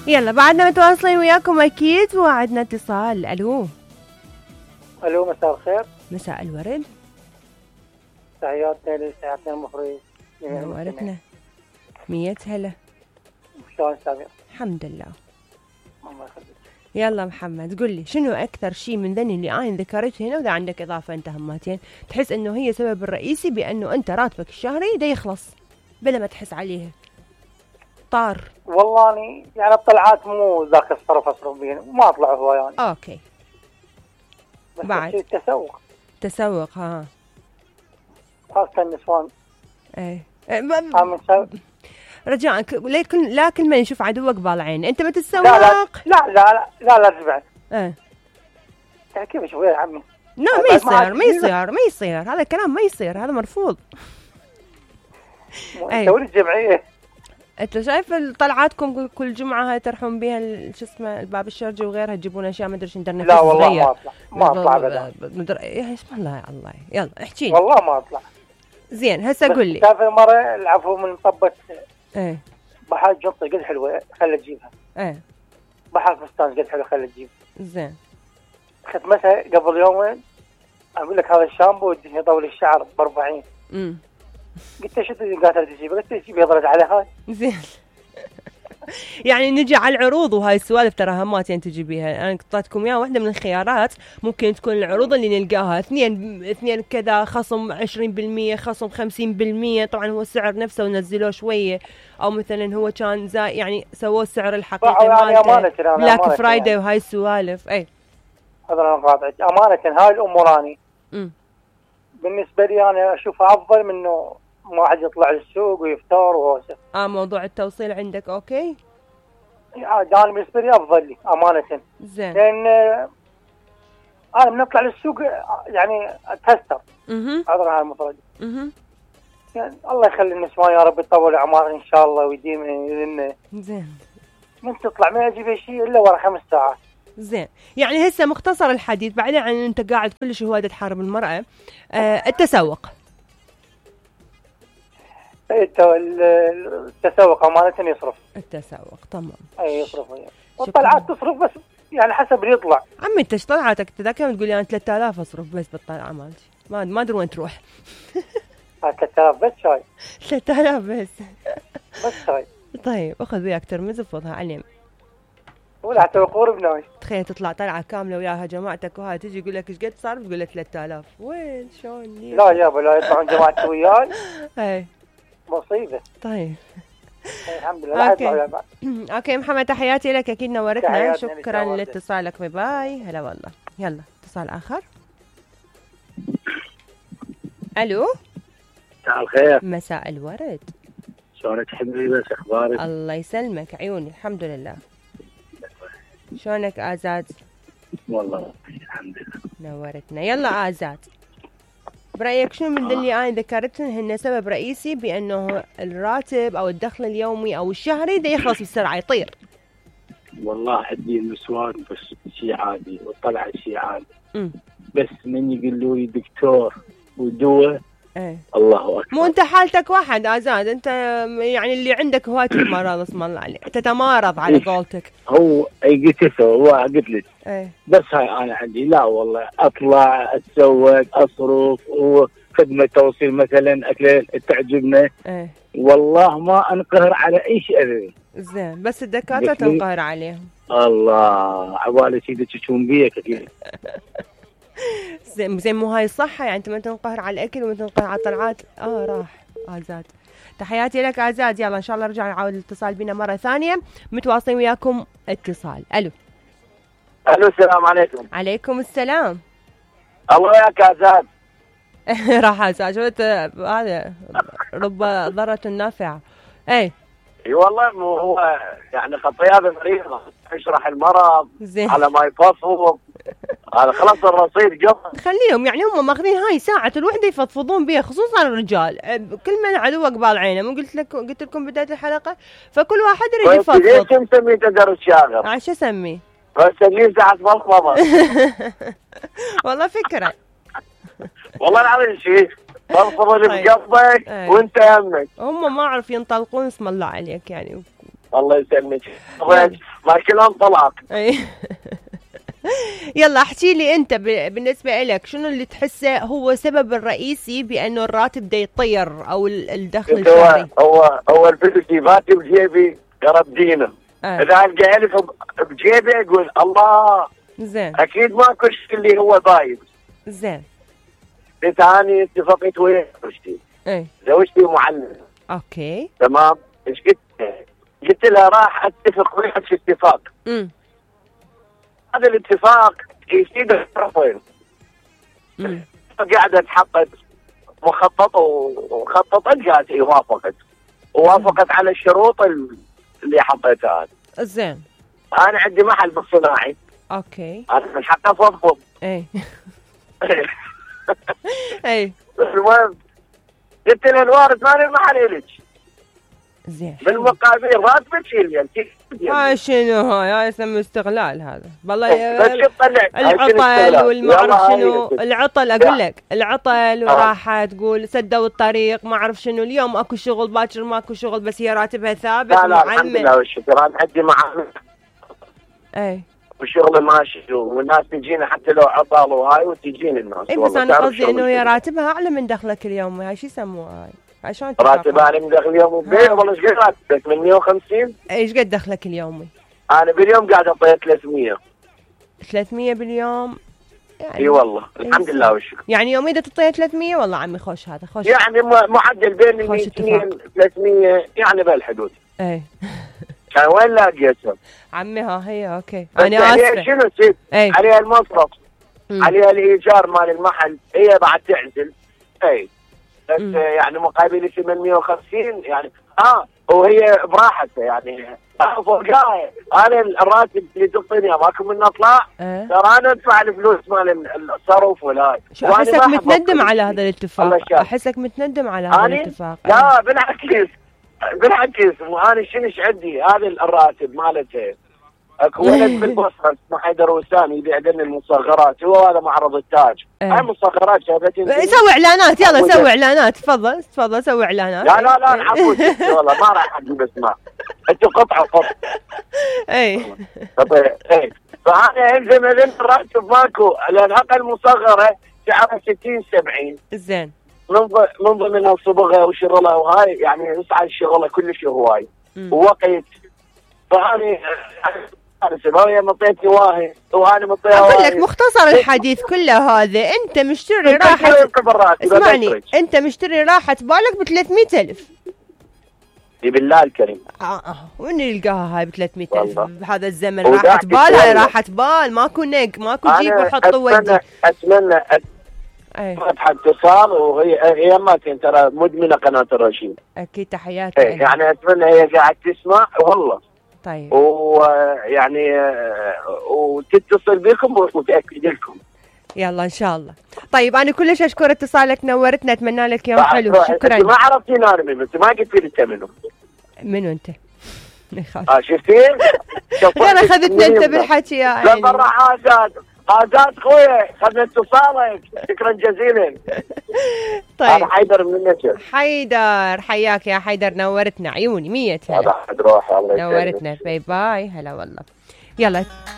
يلا بعدنا متواصلين وياكم اكيد وعدنا اتصال. الو مساء الخير. مساء الورد. تحياتنا لساعتنا المخرج. نورتنا. 100 هلا. شلون سامي؟ الحمد لله. الله يخليك. يلا محمد قل لي شنو اكثر شيء من ذني اللي انا ذكرته هنا، واذا عندك اضافه انت هماتين تحس انه هي سبب الرئيسي بانه انت راتبك الشهري دا يخلص بلا ما تحس عليه طار؟ والله اني يعني الطلعات مو ذاك اصرف بيها وما اطلع هو يعني. اوكي. بس بعد التسوق ها خاصة النسوان. ايه رجاءك لا كل ما يشوف عدوك بالعين انت بتتسوق. لا تبعد. ايه يعني كيف شوي يا عمي؟ لا ما يصير هذا الكلام، ما يصير، هذا مرفوض. تسوي الجمعية. انت شايف طلعاتكم كل جمعه هاي ترحون بها شو اسمه الباب الشرجي وغيرها، تجيبون اشياء ما ادري شو ندرنا. لا والله ما اطلع ابدا. اسم الله يا الله. يلا احكي. والله ما اطلع. زين هسه قول لي. شايف المره العفو من طبه. ايه بحر جنطه قد حلوه خلي تجيبها. ايه بحر فستان قد حلو خلي تجيبها. زين ختمتها قبل يومين اقول لك هذا الشامبو ودي طول الشعر ب 40. قلت شو قالت تجيبها؟ قلت تجيبها ضرت على هاي. زين يعني نجي على العروض وهاي السوالف ترى همات يعني تجيبيها. انا قطعتكم اياها واحده من الخيارات ممكن تكون العروض اللي نلقاها اثنين كذا خصم 20% خصم 50%. طبعا هو السعر نفسه ونزلوه شويه، او مثلا هو كان زي يعني سووا السعر الحقيقي مالته بلاك فرايداي وهاي السوالف. اي هذا انا قاطعك امانه. هاي الامور اني بالنسبه لي انا اشوفها افضل منه ما واحد يطلع للسوق ويفتر وهوسه. موضوع التوصيل عندك اوكي؟ انا بالنسبه لي افضل لي امانه. زين. لان انا من اطلع للسوق يعني اتهستر. هذا هاي المفروض. يعني الله يخلي النسوان يا رب يطول اعمار ان شاء الله ويديم لنا. زين. من تطلع ما يجي شيء الا ورا 5 ساعات. زين يعني هسه مختصر الحديث بعيدا عن انت قاعد كلش هواده تحارب المراه. التسوق. التسوق امانه يصرف. التسوق تمام. اي يصرف والطلعات تصرف بس يعني حسب اللي يطلع. عمي انت ايش طلعاتك؟ ذاك يوم تقول لي انا 3000 اصرف بس بالطلعه مالتي ما ادري وين تروح. 3000 بس شاي. 3000 بس شاي. طيب اخذ وياك ترمز وفضها علم ولا حتى وقور بناي. تخيل تطلع طلعه كامله وياها جماعتك وهاي تجي يقول لك ايش قد صار تقول له 3000 وين شلون؟ لا يابا لا يطلعون جماعتي وياي. اي مصيبه. طيب الحمد لله. اوكي محمد تحياتي لك اكيد نورتنا. شكرا لاتصالك. باي باي. هلا والله. يلا اتصال اخر. الو مساء الخير. مساء الورد. شلونك حبيبي؟ اخبارك؟ الله يسلمك عيوني الحمد لله. شلونك آزاد؟ والله الحمد لله. نورتنا. يلا آزاد برأيك شنو من اللي أنا ذكرتهن هن سبب رئيسي بأنه الراتب أو الدخل اليومي أو الشهري ده يخلص بسرعة يطير؟ والله عندي النسوان بس شيء عادي والطلعة شيء عادي. بس من يقولوا لي دكتور ودواء الله أكبر. مو أنت حالتك واحد آزاد، أنت يعني اللي عندك هواية المرض اسم الله عليك تتمارض على قولتك. هو قلت هو قلت لك بس هاي أنا عندي لا والله أطلع أتسوق أصرف وخدمة توصيل مثلا أكل تعجبنا. والله ما أنقهر على أي شيء أبدا. زين بس الدكاترة تنقهر عليهم. الله عبالي سيدك تشوفون بيك أكيد. زين مو هاي الصحة يعني انت ما تنقهر على الاكل وما تنقهر على الطلعات. راح آزاد. تحياتي لك آزاد. يلا ان شاء الله نرجع نعاود الاتصال بنا مرة ثانية. متواصلين وياكم اتصال. الو السلام عليكم. عليكم السلام. الله وياك آزاد. راح آزاد شفت هذا رب ضرة نافعة. اي والله مو هو يعني خطيات مريضة اشرح المرض على ما يفضفض. هذا خلاص الرصيد قبل خليهم يعني هم ماخذين هاي ساعة الوحدة يفضفضون بيها خصوصا الرجال. كل من عدوك بالعينه مو قلت لكم بداية الحلقة فكل واحد يريد يفضفض. ليش مسميه تدر الشاغر؟ عشان اسميه؟ مسميه ساعة فضفضة. والله فكرة. والله العظيم شيء فضفض اللي بقلبك وانت همك. هم ما اعرف ينطلقون اسم الله عليك يعني الله يسلمك. ما كلام طلاق. يلا احكي لي انت بالنسبه لك شنو اللي تحسه هو سبب الرئيسي بانه الراتب دا يطير او الدخل الشهري؟ هو الفلوس يباتي بجيبي قرب دينه. اذا القى الف بجيبي اقول الله زين، اكيد ماكو شيء اللي هو بايظ. زين. ثاني اتفقت ويا زوجتي. زوجتي معلمه. اوكي تمام. ايش قلت لها راح اتفق وياك في اتفاق. هذا الاتفاق يفيد الطرفين. قاعده تحقق مخطط وخططت قالت اي وافقت على الشروط اللي حطيتها. زين. انا عندي محل بالصناعي. اوكي. انا من حقي افضفض. اي. اي. المهم قلت له الوارد مالي المحل الك. زين. بالمقابل راتبك شيل شنو هاي يسمى استغلال هذا والله. العطل والما اعرف شنو العطل. اقول لك العطل وراحه تقول سدوا الطريق ما اعرف شنو. اليوم اكو شغل باكر ماكو شغل بس هي راتبها ثابت. لا الحمد لله والشكر. انا عندي معامل. اي. والشغل ماشي والناس تجينا حتى لو عطل وهاي وتجيني الناس. اي بس انا قصدي انه هي راتبها اعلى من دخلك اليومي. هاي شو يسموها هاي؟ عشان راتب انا من دخل اليومي والله. ايش قد راتبك؟ 850. ايش قد دخلك اليومي؟ انا باليوم قاعد اعطيه 300. 300 باليوم يعني. اي والله الحمد لله والشكر. يعني يوميا تعطيه 300 والله عمي خوش هذا خوش. يعني معدل بين 200 300 يعني بهالحدود. اي. كان وين لاقيتهم؟ عمي ها هي اوكي. انا اسفه. شنو تصير؟ عليها المصرف عليها الايجار مال المحل. هي بعد تعزل. اي بس يعني مقابل 850 يعني وهي براحتها يعني. فوقها انا الراتب اللي تعطيني ماكو منه اطلع. ترى انا ادفع الفلوس مال الصرف ولا. احسك متندم على هذا الاتفاق. احسك متندم على هذا الاتفاق. لا بالعكس انا شنو عندي هذا الراتب مالته. اكو ولد بالبصره اسمه حيدر وسام يبيع لنا المصغرات. هو هذا معرض التاج. هاي مصغرات جابتني. سوي اعلانات يلا سوي اعلانات. تفضل سوي اعلانات. لا عفوك والله ما راح اجيب اسماء. انتوا قطع. اي. فانا الزم الراتب ماكو لان اقل مصغره سعرها 60 70. زين. من ضمنها صبغه وشغله وهاي يعني يصعد الشغله كلش هواي ووقت. فاني هي مطيتني واهي وانا مطيها. اقول لك مختصر الحديث كله هذا. انت مشتري راحه. اسمعني انت مشتري راحه بالك ب 300,000. بالله الكريم. وين يلقاها هاي ب 300,000 بهذا الزمن؟ راحه بال. هاي راحه بال ماكو نق ماكو جيب وحط ودي. اتمنى فتح اتصال وهي اماتين ترى مدمنه قناه الرشيد. اكيد تحياتي. يعني اتمنى هي قاعد تسمع والله. طيب. ويعني وتتصل بكم وتاكد لكم. يلا ان شاء الله. طيب انا كلش اشكر اتصالك نورتنا. اتمنى لك يوم حلو. شكرا. ما عرفتيني انا بس ما قلت لي انت منو انت؟ شفتين؟ انا اخذتني انت بالحكي يا عيني. لا مرة عادات خويا خذنا اتصالك. شكرا جزيلا. طيب انا حيدر من النجف. حيدر حياك يا حيدر. نورتنا عيوني 100 هلا. روح الله نورتنا. باي باي. هلا والله. يلا